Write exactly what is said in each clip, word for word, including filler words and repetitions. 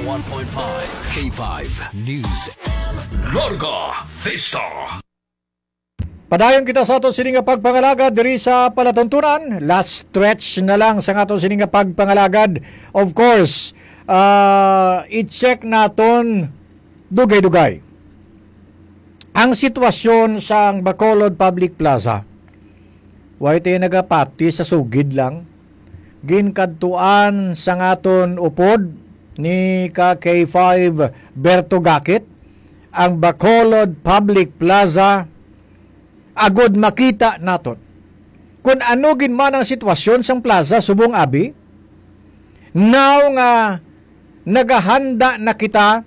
One point five K five News. Larga Vista. Padayon kita sa aton sini nga pagpangalagad diri sa palatuntunan. Last stretch na lang sa aton sini nga pagpangalagad. Of course, ah, i-check naton dugay-dugay ang sitwasyon sang Bacolod Public Plaza. Way tayo nagapati sa sugid lang. Ginkadtuan sang aton upod ni ka K five Berto Gakit ang Bacolod Public Plaza agod makita naton kung ano gid man ang sitwasyon sang plaza subong abi. Now nga nagahanda na kita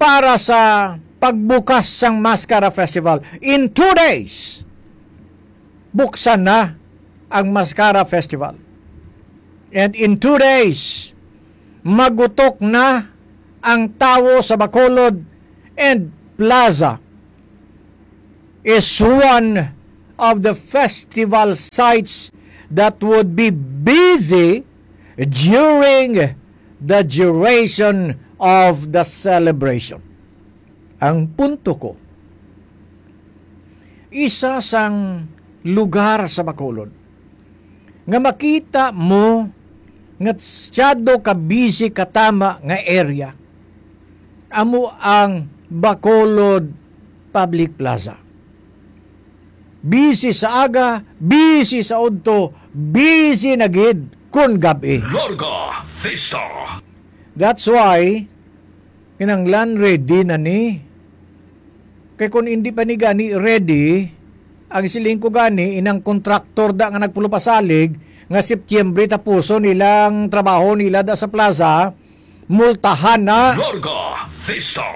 para sa pagbukas sang Mascara Festival. In two days, buksan na ang Mascara Festival. And in two days, magutok na ang tawo sa Bacolod, and Plaza is one of the festival sites that would be busy during the duration of the celebration. Ang punto ko, isa sang lugar sa Bacolod nga makita mo nga masyado ka busy, katama nga area, amo ang Bacolod Public Plaza. Busy sa aga, busy sa udto, busy na gid kon gab-i. Larga Vista. That's why kinahanglan ready na ni. Kay kung hindi pa ni gani ready, ang siling ko gani, inang kontraktor da nga nagpulo pasalig nga Setyembre tapuson nilang trabaho nila da sa plaza, multahan na. Larga Vista.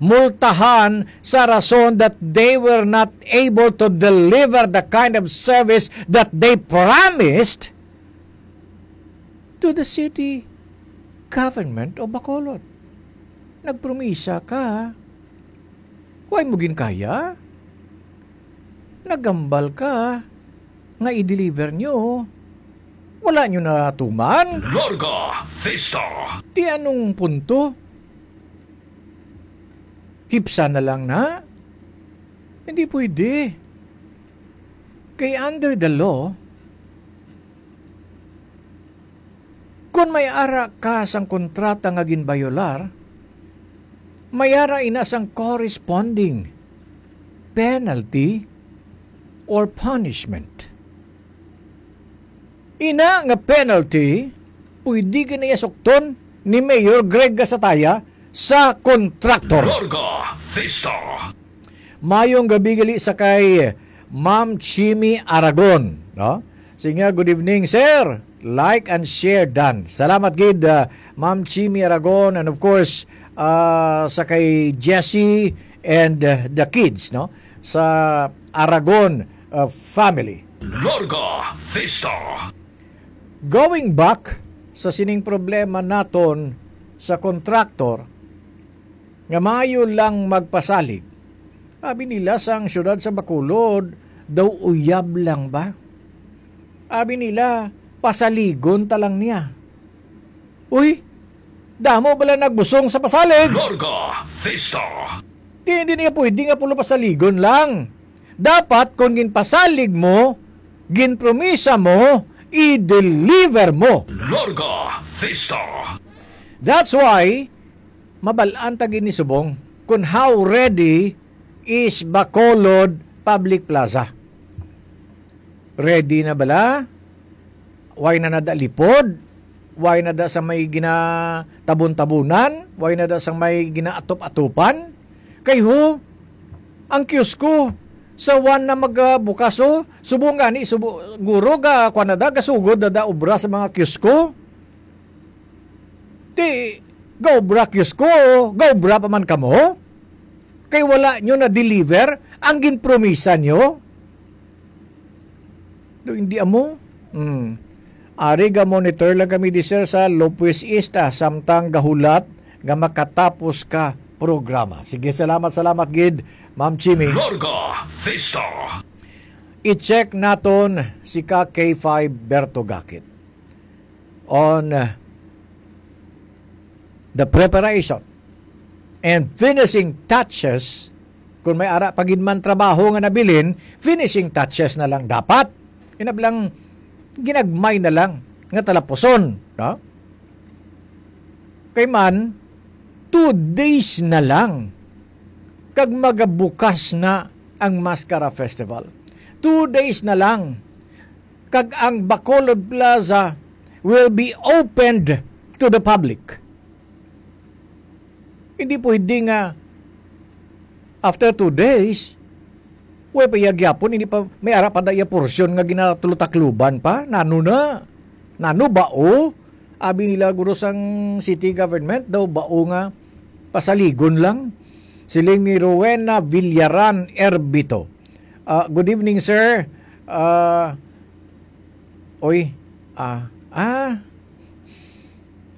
Multahan sa rason that they were not able to deliver the kind of service that they promised to the city government of Bacolod. Nagpromisa ka. Way mo ginkaya? Nagambal ka nga i-deliver nyo. Wala nyo natuman? Larga Vista. Ti anong punto? Hipsa na lang na? Hindi pwede. Kay under the law, kung may ara ka sang kontrata nga ginbayolar, may ara ina sang corresponding penalty or punishment. Ina nga penalty, pwede gani iya sukton ni Mayor Greg Gasataya sa kontraktor. Larga Vista. Mayong gabi gali sa kay Ma'am Chimi Aragon, no? Sige nga, good evening, sir. Like and share done. Salamat gid, uh, Ma'am Chimi Aragon, and of course, uh, sa kay Jessie and, uh, the kids, no? Sa Aragon, uh, family. Larga Vista. Going back sa sining problema naton sa kontraktor nga maayo lang magpasalig, abi nila sang siyudad sa Bacolod daw uyab lang ba? Abi nila, pasaligon ta lang niya. Uy, damo bala nagbusong sa pasalig. Larga Vista. Di, hindi niya pwede nga pulo pasaligon lang. Dapat, kung ginpasalig mo, ginpromisa mo, i-deliver mo. Larga Vista. That's why, mabalaan ta gid ni subong kung how ready is Bacolod Public Plaza. Ready na bala? Way na nada lipod? Way na da sa may ginatabon-tabunan? Way na da sa may ginaatop-atupan? Kay ho, ang kiosko sa one na magabukas, oh, subong gani, subo-, guro ga, kuwan na da, gasugod na da obra sa mga kiosko. Di, gaobra kiosko, gaobra pa man kamo. Kay wala nyo na-deliver ang ginpromisa nyo. Do, hindi amo? Hmm. Ari, ga-monitor lang kami di, sir, sa Lopez East, ah, samtang gahulat nga makatapos ka programa. Sige, salamat, salamat gid, Ma'am Chimi. Larga Vista. I-check naton si ka K five Berto Gakit. On, uh, the preparation and finishing touches, kung may ara pa gid man trabaho nga nabilin, finishing touches na lang dapat. Inablang ginagmay na lang nga talapuson, no? Kay man, two days na lang kag magabukas na ang Mascara Festival. Two days na lang kag ang Bacolod Plaza will be opened to the public. Hindi pwede nga after two days, way pa iya gyapon, hindi pa, may ara pa da iya porsyon nga ginatulo-takluban pa. Nano na? Nano ba, o? Abi nila guro sang city government daw ba, o, nga pasaligon lang. Siling ni Rowena Villaran Erbito. Ah, good evening, sir. Ah, oy, ah, ah,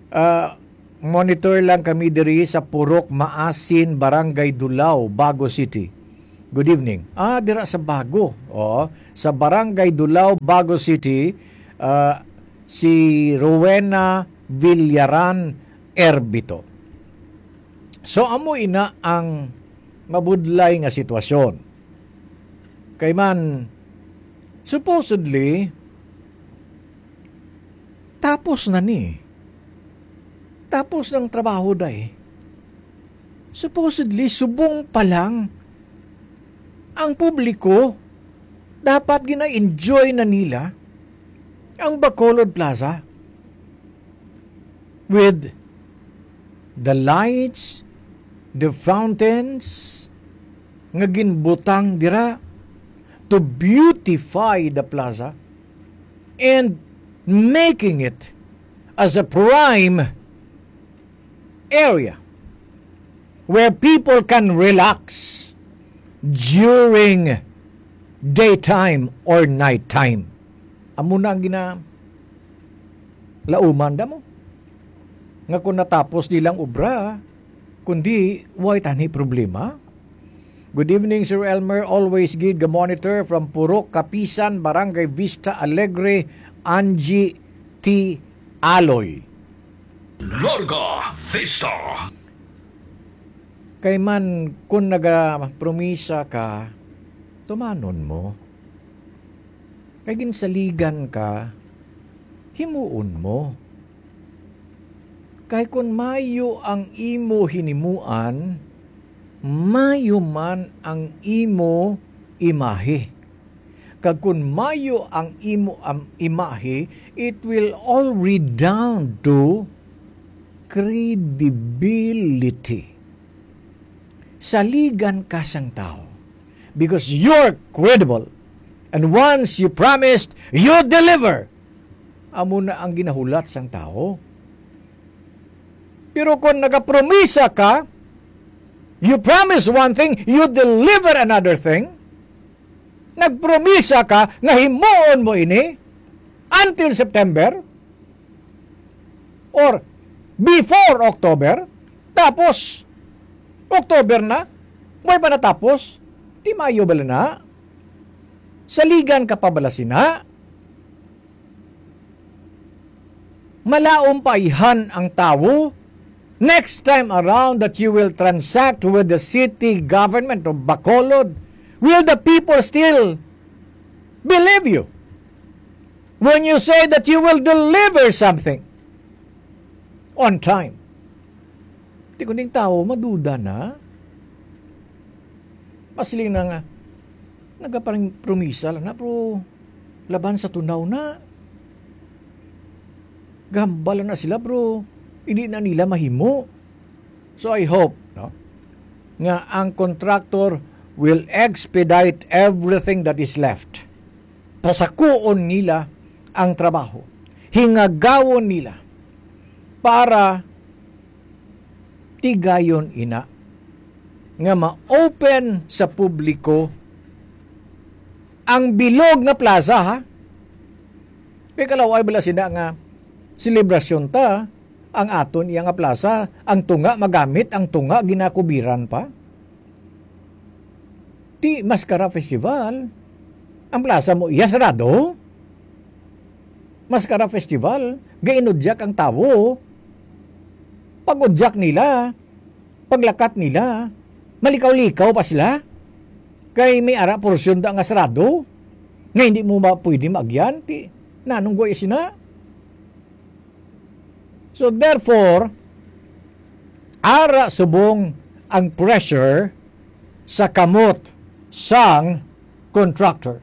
ah, monitor lang kami diri sa Purok Maasin, Barangay Dulao, Bago City. Good evening. Ah, dira sa Bago. Oo, sa Barangay Dulao, Bago City, ah, si Rowena Villaran Erbito. So, amo ina ang mabudlay nga sitwasyon. Kay man, supposedly, tapos na ni. Tapos ng trabaho, day. Supposedly, subong pa lang ang publiko, dapat gina-enjoy na nila ang Bacolod Plaza with the lights, the fountains nga ginbutang dira to beautify the plaza and making it as a prime area where people can relax during daytime or nighttime. Amo na ang gina-, lauman da mo. Nga kung natapos nilang obra, kundi way tani problema. Good evening, Sir Elmer. Always gid ga monitor from Purok Kapisan, Barangay Vista Alegre, Angie T. Aloy. Larga Vista. Kay man, kung nagapromisa ka, tumanon mo. Kay ginsaligan ka, himuon mo. Kay kun mayo ang imo hinimuan, mayo man ang imo imahe. Kag kun mayo ang imo am-, imahe, it will all redound to credibility. Saligan ka sang tawo because you're credible. And once you promised, you deliver. Amo na ang ginahulat sang tawo. Pero kung nagapromisa ka, you promise one thing, you deliver another thing. Nagpromisa ka nga himuon mo ini until September or before October, tapos October na, way pa natapos, di maayo bala na? Saligan ka pa bala sina? Malaom pa ayhan ang tawo next time around that you will transact with the city government of Bacolod? Will the people still believe you when you say that you will deliver something on time? Di kuning tawo maduda na. Masiling na nga, nagaparang promisa lang na, pero laban sa tunaw na. Gahambal na sila, bro. Hindi na nila mahimo. So I hope, no, nga ang contractor will expedite everything that is left. Pasakuon nila ang trabaho. Hingagawon nila para tigayon ina nga ma-open sa publiko ang bilog nga plaza, ha? Kay kalaway bala sina nga selebrasyon ta, ang aton iya nga plaza, ang tunga magamit, ang tunga ginakubiran pa. Ti Mascara Festival, ang plaza mo iya sarado. Mascara Festival, gainudyak ang tawo. Pag-udyak nila, paglakat nila, malikaw-likaw pa sila. Kay may ara porsyon da nga sarado, nga hindi mo ba pwede maagyan? Ti, nanong guay sina? So therefore, ara subong ang pressure sa kamot sang contractor.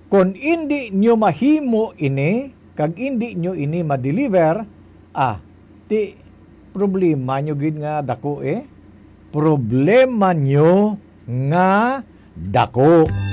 Kung indi nyo mahimo ini, kag indi nyo ini ma-deliver, ah, ti problema nyo gid nga dako, eh. Problema nyo nga dako.